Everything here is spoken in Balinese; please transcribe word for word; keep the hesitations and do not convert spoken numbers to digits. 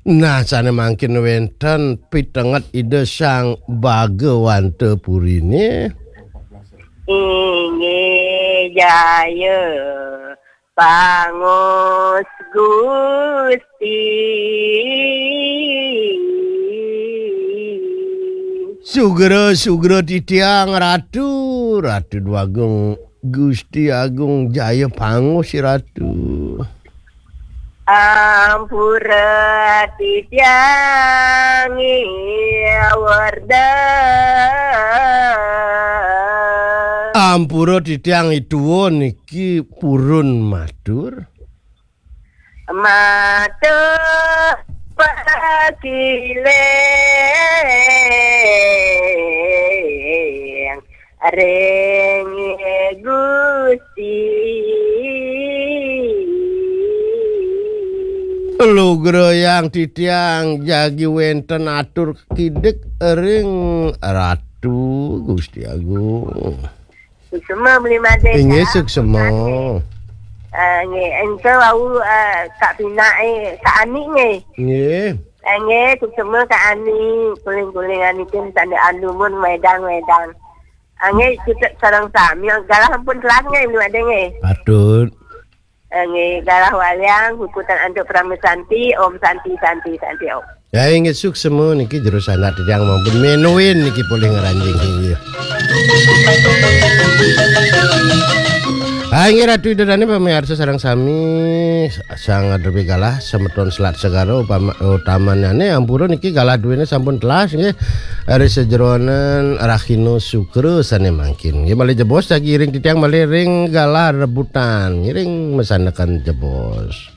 Nah, sane mangkin wenten pitenget Ida Sang Bagawanta Purine. Inggih jaya pangus Gusti. Sugra, sugra titiang Ratu, Ratu Dwagung, Gusti Agung jaya pangus Ratu. Ampura titiang werda. Ampura titiang ituwa niki purun matur. Matur pakiling ring Gusti. Lugrayang titiang jagi wenten atur kidik ring Ratu Gusti Agung. Suksema beli madé. Inggih, suksema. Eh, nggih, engke wau, eh, Kak Pina, eh, Kak Ani nggih. Nggih. Eh, nggih, suksema Kak Ani, kuling-kuling Ani pun sandang anumun wedang-wedang. Ah, nggih, kita sareng sami galah ampun telas nggih, beli madé nggih. Patut. Eh, nggih, galah waliang, hukutan antuk Parama Santi, Om Santi, Santi, Santi, Om. Ya, inggih suksema niki jero sanak titiang mampun menuin niki polih ngranjing inggih. Ah, inggih Ratu Ida Dane pamiarsa sareng sami, sang adrepi galah semeton Selat Segara upama utamanyane ampura niki galah duwene sampun telas nggih. Ari sejeroning rahina Sukra sane mangkin. Nggih malih jebos jagi iring titiang malih ring galah rebutan, ngiring masandekan jebos.